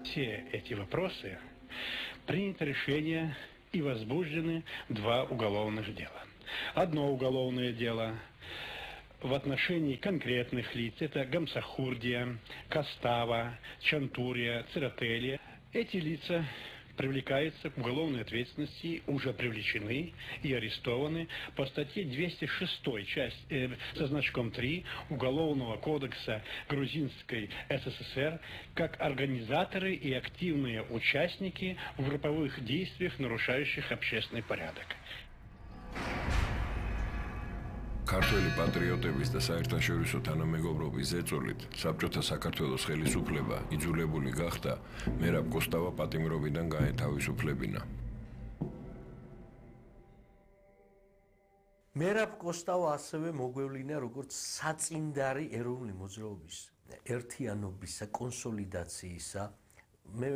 все эти вопросы принято решение и возбуждены 2 уголовных дела. Одно уголовное дело в отношении конкретных лиц, это Гамсахурдия, Костава, Чантурия, Церетели. Эти лица привлекаются к уголовной ответственности, уже привлечены и арестованы по статье 206 со значком 3 Уголовного кодекса Грузинской СССР как организаторы и активные участники в групповых действиях, нарушающих общественный порядок. ქართველი პატრიოტების და საერთაშორისო თანამეგობრობის ზეწოლით საბჭოთა საქართველოს ხელისუფლება იძულებული გახდა მერაბ კოსტავა პატიმრობიდან გაეთავისუფლებინა. მერაბ კოსტავა ასევე მოგვევლინა როგორც საწინდარი ეროვნული მოძრაობის ერთიანობისა, კონსოლიდაციისა. მე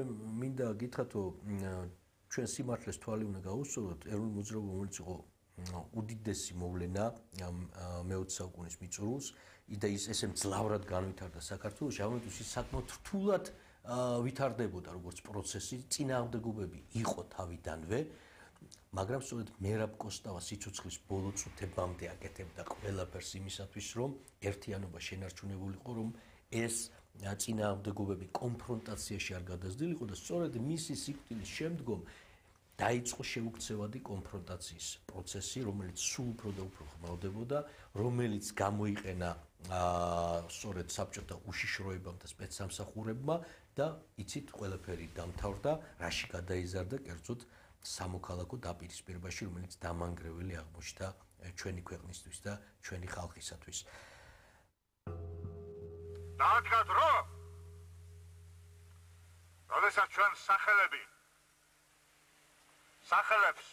მინდა გითხრათ, რომ ჩვენ სიმართლეს თვალი უნდა გაუსწოროთ, ეროვნული მოძრაობა რომელიც იყო უდიდესი მოვლენა მე-20 საუკუნის მიწურულს და ესე მძლავრად განვითარდა საქართველოში, ამიტომ ის საკმაოდ რთულად ვითარდებოდა როგორც პროცესი, წინააღმდეგობები იყო თავიდანვე, მაგრამ სწორედ მერაბ კოსტავა სიცოცხლის ბოლო წუთებამდე აკეთებდა ყველაფერს იმისათვის, რომ ერთიანობა შენარჩუნებულიყო, რომ ეს წინააღმდეგობები კონფრონტაციაში არ გადასდილიყო და სწორედ მისი სიკვდილის შემდგომ დაიწყო შეუქცევადი კონფრონტაციის პროცესი, რომელიც სულ უფრო და უფრო ხმაურდებოდა, რომელიც გამოიყენა სწორედ საბჭოთა უშიშროებამ და სპეცსამსახურებმა და იცით ყველაფერი დამთავრდა, რაში გადაიზარდა კერძოდ სამოქალაქო დაპირისპირებაში, რომელიც დამანგრეველი აღმოჩნდა ჩვენი ქვეყნისთვის და ჩვენი ხალხისათვის. დაადგათ რომ როდესაც ჩვენ სახელებს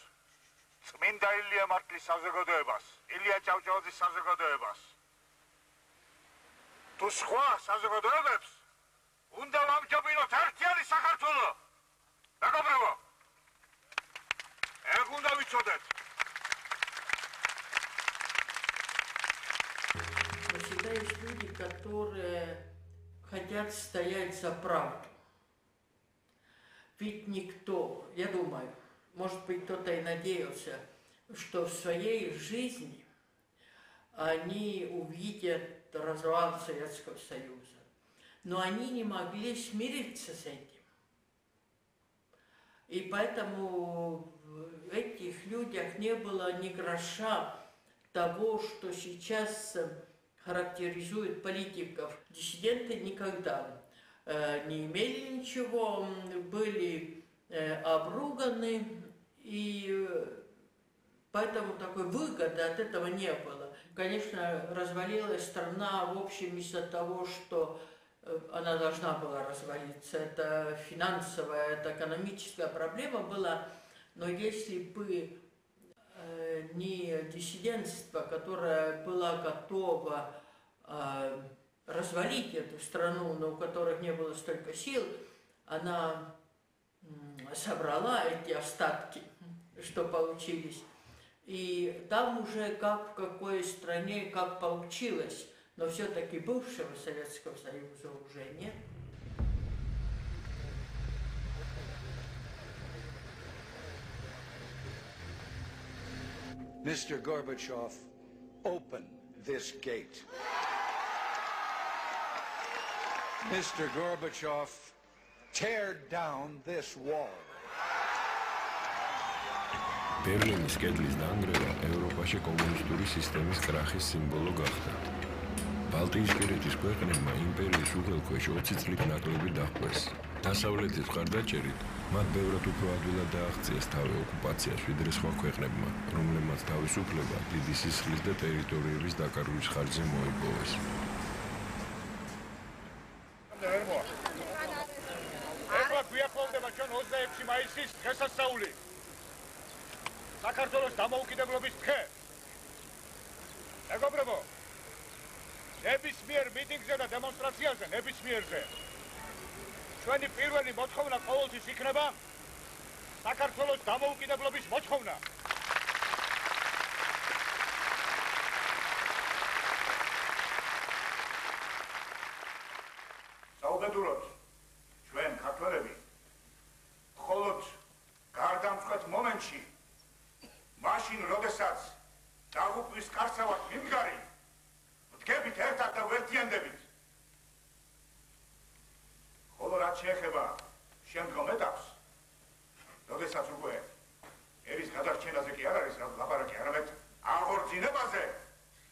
წმინდა ილია მარტლის საზოგადოებას, ილია ჭავჭავაძის საზოგადოებას თუ სხვა საზოგადოებებს უნდა ვამჯობინოთ ერთიანი საქართველო. მეგობრებო, ეგ უნდა ვიცოდეთ. Всегда есть люди, которые хотят стоять за правду. Ведь никто, я думаю, может быть, кто-то и надеялся, что в своей жизни они увидят развал Советского Союза. Но они не могли смириться с этим. И поэтому в этих людях не было ни гроша того, что сейчас характеризует политиков. Диссиденты никогда не имели ничего, были обруганы, и поэтому такой выгоды от этого не было. Конечно, развалилась страна, в общем, из-за того, что она должна была развалиться. Это финансовая, это экономическая проблема была, но если бы не диссидентство, которое было готово развалить эту страну, но у которых не было столько сил, она собрала эти остатки, что получились. И там уже как в какой стране, как получилось, но все-таки бывшего Советского Союза уже нет. Mr. Gorbachev, open this gate. Mr. Gorbachev, tear down this wall. ბერლინის კედლის დანგრევა ევროპაში კომუნისტური სისტემის კრახის სიმბოლო გახდა. ბალტიისპირეთის ქვეყნებმა იმპერიის უღელქვეშ 20 წლით ნაკლები დაჰყვეს. დასავლეთის მხარდაჭერით მათ ბევრად უფრო ადვილად დააღწიეს თავი ოკუპაციას, ვიდრე სხვა ქვეყნებმა, რომლებმაც თავისუფლება დიდი სისხლის და ტერიტორიების დაკარგვის ხარჯზე მოიპოვეს. ეხლა გვიახლოვდება ჩვენ 26 მაისის დღესასწაული. საქართველოს დამოუკიდებლობის დღე. მეგობრებო, ნებისმიერ მიტინგზე და დემონსტრაციაზე, ნებისმიერზე ჩვენი პირველი მოთხოვნა ყოველთვის იქნება საქართველოს დამოუკიდებლობის მოთხოვნა. საუბედუროთ, ჩვენ ქართველები დავსვეთ მომენტში, მაშინ, როდესაც დაღუპვის კარცევად მიმდგარი, ვდგებით ერთად და ვერთიანდებით. ხოლო რაც შეეხება შემდგომ ეტაპს, როდესაც უკვე ერის გადარჩენაზე კი არ არის ლაპარაკი, არამედ